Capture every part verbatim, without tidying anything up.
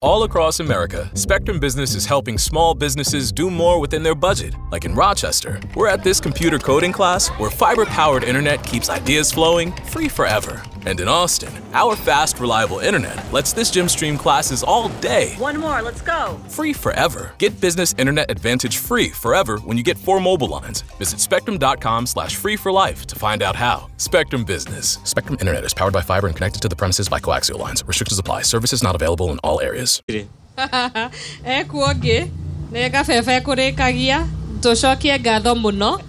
All across America, Spectrum Business is helping small businesses do more within their budget. Like in Rochester, we're at this computer coding class where fiber-powered internet keeps ideas flowing free forever. And in Austin, our fast, reliable internet lets this gym stream classes all day. One more, let's go. Free forever. Get business internet advantage free forever when you get four mobile lines. Visit spectrum.com slash free for life to find out how. Spectrum Business. Spectrum Internet is powered by fiber and connected to the premises by coaxial lines. Restrictions apply. Services not available in all areas. Ekuo ngĩ nĩ gabebe kũrĩkagia tũcokie ngatho mũno.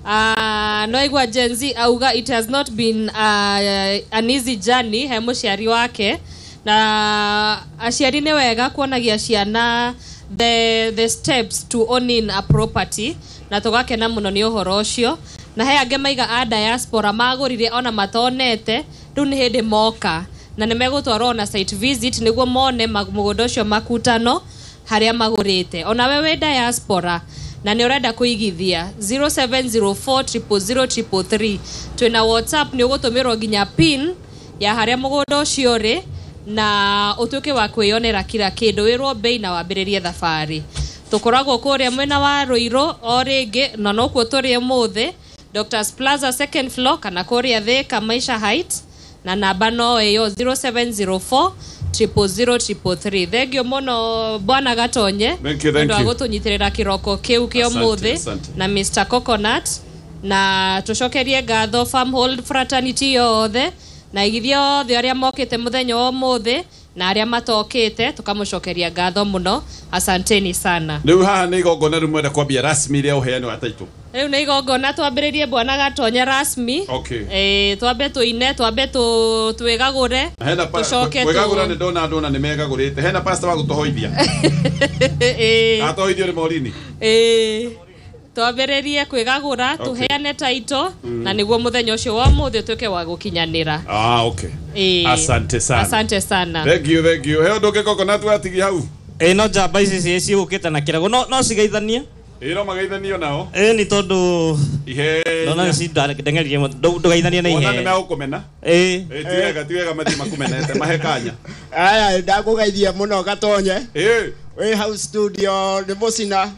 Uh, no igua Gen Z auga it has not been uh, an easy journey he mũciari wake, na aciari nĩ wega kuonagia ciana the, the steps to owning a property, na tũgakena mũno nĩ ũhoro ũcio. Na he angĩ maiga a diaspora magũrire ona matonete, rĩu nĩ hĩndĩ moka na nĩ megũtwarwo na site visit nĩguo mone mũgũnda ũcio makutano harĩa magũrĩte. Ona we wĩ diaspora na nĩ ũrenda kũigithia zero seven zero four triple zero triple three, twĩna WhatsApp, nĩ ũgũtũmĩrwo nginya pin ya harĩa mũgũnda ũcio ũrĩ na ũtuĩke wa kwĩyonera kila kĩndũ, wĩrwo bei na wambĩrĩrie thabarĩ. Tũkoragwo kũrĩa mwena wa Ruiru o rĩngĩ na nokuo tũrĩ ũmũthĩ, Doctors Plaza second floor kana kũrĩa Thika Maisha Heights, na namba no ĩyo zero seven zero four triple zero triple three. Thengio mũno Bwana Gatonye nĩ wa gũtũnyitĩrĩra kĩroko kĩu kĩa ũmũthĩ na Mister Coconut, na tũcokerie ngatho Farmhold Fraternity yothe na igithia othe arĩa mokĩte mũthenya wa ũmũthĩ na arĩa matokĩte, tũkamũcokeria ngatho mũno. Asanteni sana. Rĩu haha nĩ igongona rĩu mwenda kwambia rasmi rĩa ũheani wa title. Rĩu nĩ igongona twambĩrĩrie Bwana Gatonye rasmi. Okay. Eh, twambe tũine, twambe twĩgagũre, tũcoke twĩgagũra. Nĩ ndona andũ ona nĩ megagũrĩte. Hena pastor wa gũtũhoithia. Eh. Atohoithio nĩ Morini. Eh. Twambĩrĩrie kwĩgagũra, tũheane title, na nĩguo mũthenya ũcio wa ũmũthĩ ũtuĩke wa gũkinyanĩra. Ah, okay. Eh. Asante sana. Asante sana. Thank you, thank you. He ũndũ ũngĩ Coconut watigia hau? Ĩ no njamba ici ciũkĩte na kĩrago no no cigeithanie. Ĩ no mageithanio nao. Ĩ nĩ tondũ ihe no no ci ndeng'eririe ndũgeithanie na ihe. Ona nĩ megũkũmena. Ĩ ĩ ti wega, ti wega mathiĩ makũmenete mahe kanya. Aya ndakũgeithia mũno Gatonye. Ĩ wĩ hau studio nĩ Mũcina.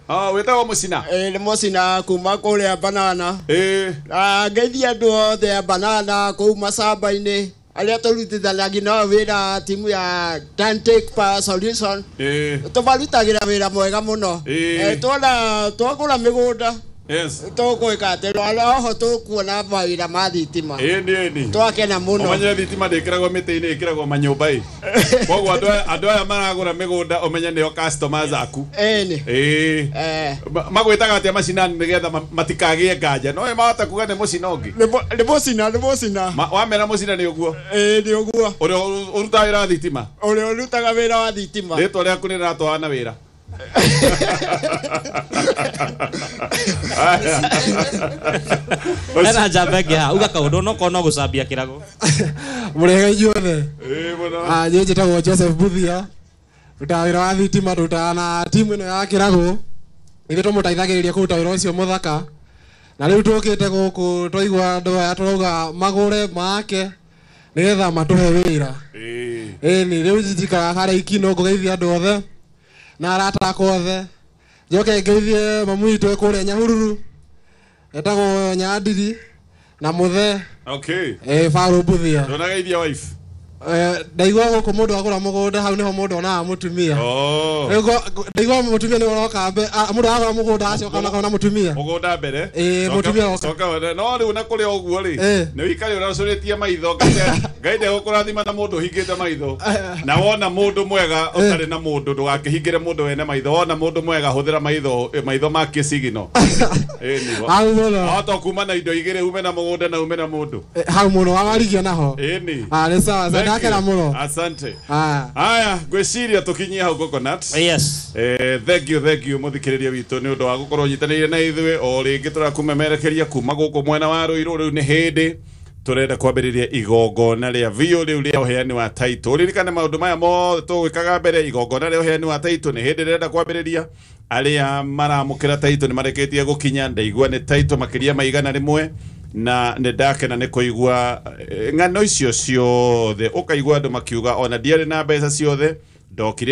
Ah, wĩtagwo Mũcina? Ĩ nĩ Mũcina kuma kũrĩa Banana. Ĩ na ngeithia andũ othe a Banana kũu macamba-inĩ arĩa tũrutithanagia nao wĩra timu ya Tantic Power Solution. Ĩ tũmarutagĩra wĩra mwega mũno. Ĩ tuona twagũra mĩgũnda. Yes. Tũgwĩka atĩ oho tũkuona mawĩra ma thitima. Ĩ nĩ twakena mũno. Ũmenye thitima ndĩkĩragwo mĩtĩ-inĩ, ĩkĩragwo manyũmba-ĩ. Koguo andũ andũ aya maragũra mĩgũnda ũmenye nĩo customers aku. Ĩ nĩ. Ĩ. Magwĩtaga atĩa macinani nĩgetha matikagĩe nganja? No mahota kuga nĩ mũcina ũngĩ. Nĩ mũcina, nĩ mũcina. Wamera mũcina nĩ ũguo? Ĩ nĩ ũguo. Ũrĩa ũrutaga wĩra wa thitima? Ũrĩa ũrutaga wĩra wa thitima. Rĩtwa rĩaku nĩ rĩratwarana wĩra. Hena njamba ĩngĩ haha uga kaũndũ no korwo no gũcambia kĩrago. Mũrĩega inyuothe. Ĩ mũno. Ah, niĩ njĩtagwo Joseph Buthia, ndutaga wĩra wa thitima, ndutaga na timu ĩno ya kĩrago. Ithuĩ tũmũteithagĩrĩria kũruta wĩra ũcio mũthaka. Na rĩu tũkĩte gũkũ twaigua andũ aya tũrauga magũre make nĩgetha matũhe wĩra. Ĩ. Ĩ nĩ rĩu njikaraga harĩa Ikino ngũgeithia andũ othe na arata akwa othe. Njoke ngeithie mamu witũ kũrĩa Nyahururu etagwo Nyandiri na Mũthe. Okay. Eh, Farũ Buthia. Ndũnageithia wife? Eh, ndaigua gũkũ mũndũ agũra mũgũnda hau nĩho mũndũ onaga mũtumia. Oh. Rĩu ndaigua mũtumia nĩ ũroka mbe, mũndũ agũra mũgũnda acoka ona mũtumia. Mũgũnda mbere. Ĩ mũtumia oka. Coka no rĩu na kũrĩ ũguo rĩ, nĩ wĩikare ũracũrĩtie maitho Ngai ndegũkũrathima na mũndũ ũhingĩte maitho. Na wona mũndũ mwega ũtarĩ na mũndũ ndũgakĩhingĩre mũndũ wene maitho. Wona mũndũ mwega hũthĩra maitho maitho ma kĩcigino. Ĩ nĩguo. Hau mũno. Wahota kuma na indo igĩrĩ ume na mũgũnda na ume na mũndũ. Hau mũno wawarigia naho. Ĩ nĩ. Ah, nĩ sawa. Ndakena mũno. Asante. Ah. Haya, ngwĩciria tũkinyie hau Coconut. Yes. Eh, thank you, thank you mũthikĩrĩria witũ nĩ ũndũ wa gũkorwo ũnyitanĩire na ithuĩ o rĩngĩ tũrakũmemerekeria kuma gũkũ mwena wa Ruiru. Rĩu nĩ hĩndĩ tũrenda kwambĩrĩria igongona rĩa biũ rĩu rĩa ũheani wa title. Ririkana maũndũ maya mothe tũgwĩkaga mbere igongona rĩa ũheani wa title nĩ hĩndĩ rĩrenda kwambĩrĩria. Arĩa maramũkĩra title nĩ marĩkĩtie gũkinya, ndaigua nĩ title makĩria ma igana rĩmwe na nĩ ndakena nĩ kũigua ng'ano icio ciothe, ũkaigua andũ makiuga ona ndiarĩ na mbeca ciothe. Ndokire.